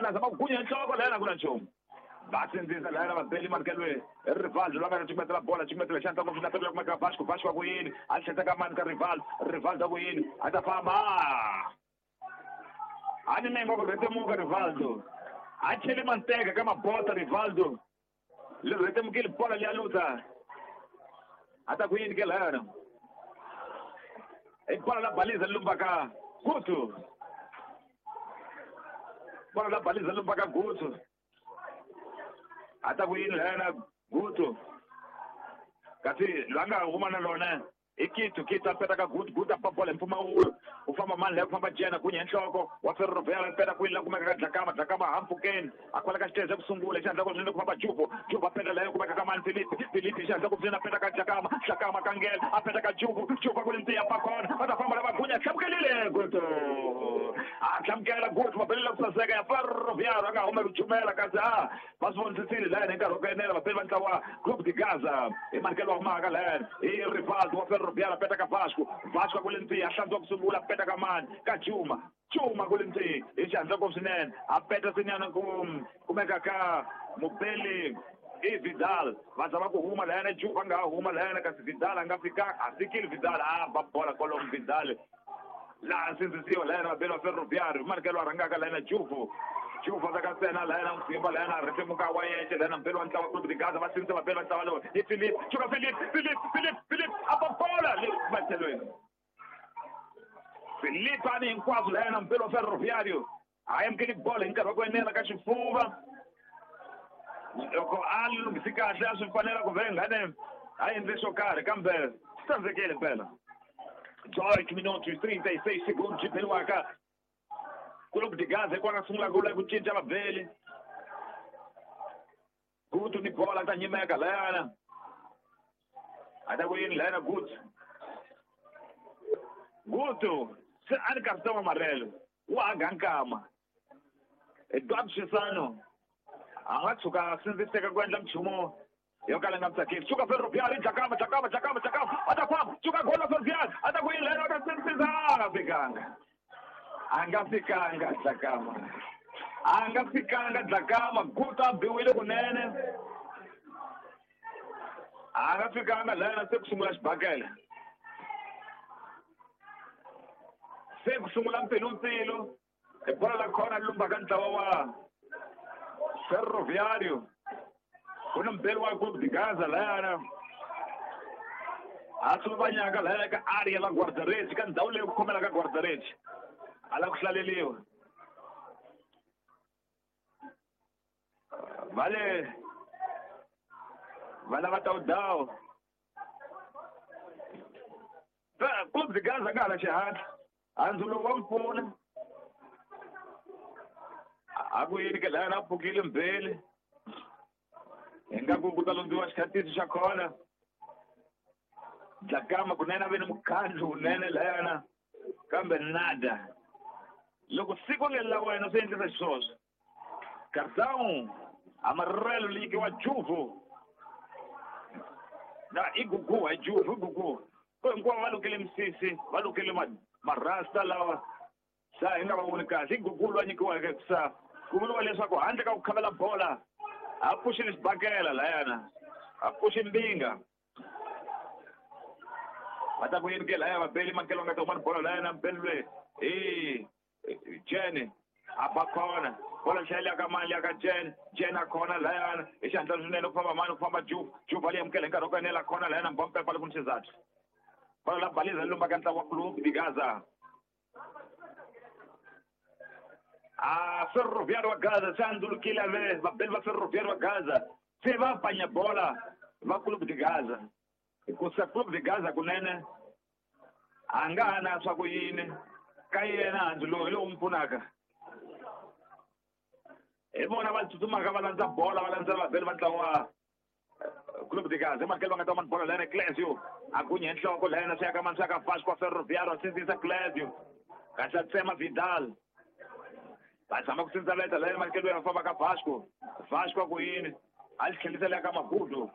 la zama ku gunya nhloko layana ku na nchumu va sindzisa layana vabeli manukelwe Rivaldo lwa nga cukumetela bola cukumetela xandla ngopfu na pela kumeka Vasco Vasco ku yini a tlheta ka mani ka Rivaldo Rivaldo ku yini a ta famba a ni mengo ku rhetemuka Rivaldo a chele manteka ka mabota Rivaldo le rhetemukile bola liya luta a ta ku yini ke layana i bola la baliza lumbaka Gutu bola la baliza lumbaka Gutu a ta ku yini layana Gutu kasi lwa nga huma na lona i Kitu Kitu a peta ka Gutu Gutu a ba bola hi mpfumawulo u famba mani leyi ku famba Jena gunya hi nhloko wa Ferroviário peta kwini la kumeka ka Dlakama Dlakama ha mpfukeni a kwala ka xitezi ku sungula xandla ku swinene ku famba Juvo Juvo a peta leyo kumeka ka mani Filipe Filipe xandla ku swinene a peta ka Dlakama Dlakama ka Ngela a peta ka Juvo Juvo ku ri ntiya pa kona va ta famba lava gunya hlamkelile Gutu a hlamukela Gutu mabelela ku saseka ya Ferroviário a nga humeli ku chumela kasi a va swi vonisisile layani hi nkarhi wa ku enela vabeli va ntlawa Clube de Gaza hi manikelo wa humaka layani hi Rivaldo wa Ferroviário a peta ka Vasco Vasco ku ri ntiya a hlantswa ku sungula a peta ka mani ka Juma Juma ku ri ntiya hi xihatla ngopfu swinene a peta sinyana ku kumeka ka mubeli i Vidal va zama ku huma layana Juba nga huma layana kasi Vidal a nga fikanga a fikile Vidal a ba bola kwalomu Vidal laha sindzisiwa layana vabeli va Ferroviário manikelo a rhangaka layana Juvo Juvo ta ka ntsena layana mutsimba layana rhetemuka wa yexe layana mubeli wa ntlawa Clube de Gaza va sindzisa vabeli va ntlawa lowu i Filipe Chuka Filipe Filipe Filipe Filipe a ba bola le matlhelweni Filipe ani hinkwaswo layana mubeli wa Ferroviário a amukeli bola hi nkarhi wa ku enela ka xifuva loko a lunghisi kahle a swi fanela ku vhengane a endle xo karhi kambe swi tsandzekile mpela 18 minutos 36 segundos byi beliwaka Clube de Gaza hi kona sungula ku ku cinca vabeli Gutu ni bola ta nyimeka layana a ta ku yini layana Gutu Gutu se a ni Gaston Amarelo wa ha nkama Eduardo Chisano a nga tshuka a sindziseka ku endla nchumu yo kala nga tsakisi Chuka Ferroviário Dlakama Dlakama Dlakama Dlakama a ta famba Chuka gola Ferroviário a ta ku yini layana a ta sindzisa a nga fikanga a nga fikanga Dlakama a nga fikanga Dlakama Gutu a biwile kunene a nga fikanga layana se ku sungula xibakele se ku sungula mpfilumpfilu hi bola la khona lumbaka ntlawa wa Ferroviário ku na mubeli wa Clube de Gaza layana a tsuvanyaka layana ka area la guarda-redes ka ndhawu leyi ku khomelaka guarda-redes a la ku hlaleliwa va le va lava tawudawu Clube de Gaza nga hala xihatla handzulo wa mpfuna a ku yini ke layana a pfukile mbeli hi nga ku ku ta lombiwa xikhatisi xa khona Dlakama kunene a ve ni mukhandlu wunene layana kambe nada loko siku leri la wena swi endlisa xiswoswo Cartão amarelo likiwa Juvo na i Gugu hi Juvo i Gugu ko hinkwavo va lukile misisi va lukile marasta lawa sa hi nga va voni kahle i Gugu loyi a nyikiweke sa ku vuriwa leswaku handle ka ku khavela bola a pfuxile xibakela layana a pfuxi mbinga va ta ku yini ke laya vabeli mankelo nga ta huma ni bola layana mbeli loyi hi Jene a ba khona bola xaya ka mani ya ka Jene Jene a khona layana hi xihatla swinene ku famba mani ku famba Juve Juve a li amukela hi nkarhi wa ku enela khona layana mbompepa loko ni xizathu bola la baliza lumba ka ntlawa wa Clube de Gaza a Ferroviário wa Gaza se andzulukile ve vabeli va Ferroviário wa Gaza se va panya bola va Clube de Gaza hikusa Clube de Gaza kunene a nga ha na swa ku yini ka yena handzu lowu hi lowu n'wi pfunaka hi vona va tsutsumaka va landza bola va landza vabeli va ntlawa Clube de Gaza makelo va nga ta mani bola layana Clésio a gunya hi nhloko layana swi ya ka mani swi ya ka Vasco Ferroviário a sindzisa Clésio kasi a tsema Vidal va zama ku sindzaleta layana manikelo ya famba ka Vasco Vasco a ku yini a li tlhelisela ya ka Magudu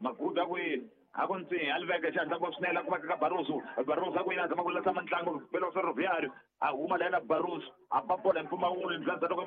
Magudu a ku yini a ku ntsi a li veka xandla ngopfu swinene a kumeka ka Barroso Barroso a ku yini a zama ku lasa mantlangu belo Ferroviário a huma layana Barroso a ba bola hi mpfumawulo ndlela loko